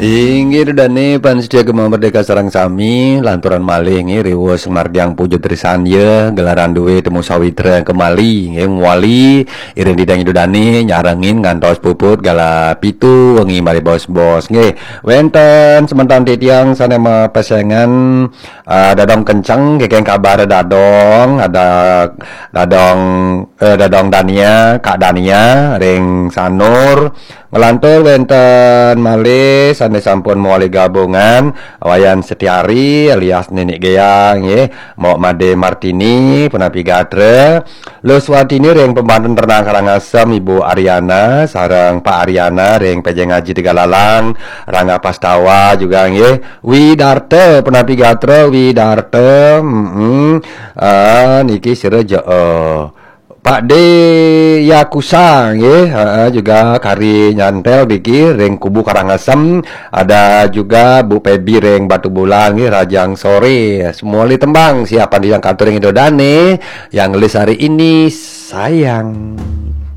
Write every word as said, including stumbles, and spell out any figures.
Inggih Ida Dane pan setia Gema Merdeka sareng sami, lanturan malih nggih riwus margiang puja trisandya, gelaran duwe temu sawitra kemali nggih, muali iring didang Ida Dane nyarengin ngantos puput galah pitu wengi malih bos-bos nggih. Wenten semeton titiang sane mapesengan, eh, dadong kenceng, kekeng kabar dadong, ada dadong, eh, dadong Dania, Kak Dania ring Sanur, Ngelantur wenten malih sane sampun mawali gabungan, Wayan Setiari alias Nenek Geyang nggih, Mok Made Martini punapi gatra, Luswatini ring Pembanten Ternak Karangasem, Ibu Ariana sareng Pak Ariana ring Pejeng Aji Tegalalang, Rangga Pastawa juga nggih, Widarta punapi gatra, Widarta, mm, ah, niki sira ja, eh, Pak De Yakusa nggih, heeh, juga kari nyantel biki ring kubu Karangasem, ada juga Bu Pebi ring Batu Bulan nggih, Rajang Sore. Semua li tembang siapan didang katur ring Ida Dane yang ngelis hari ini, sayang.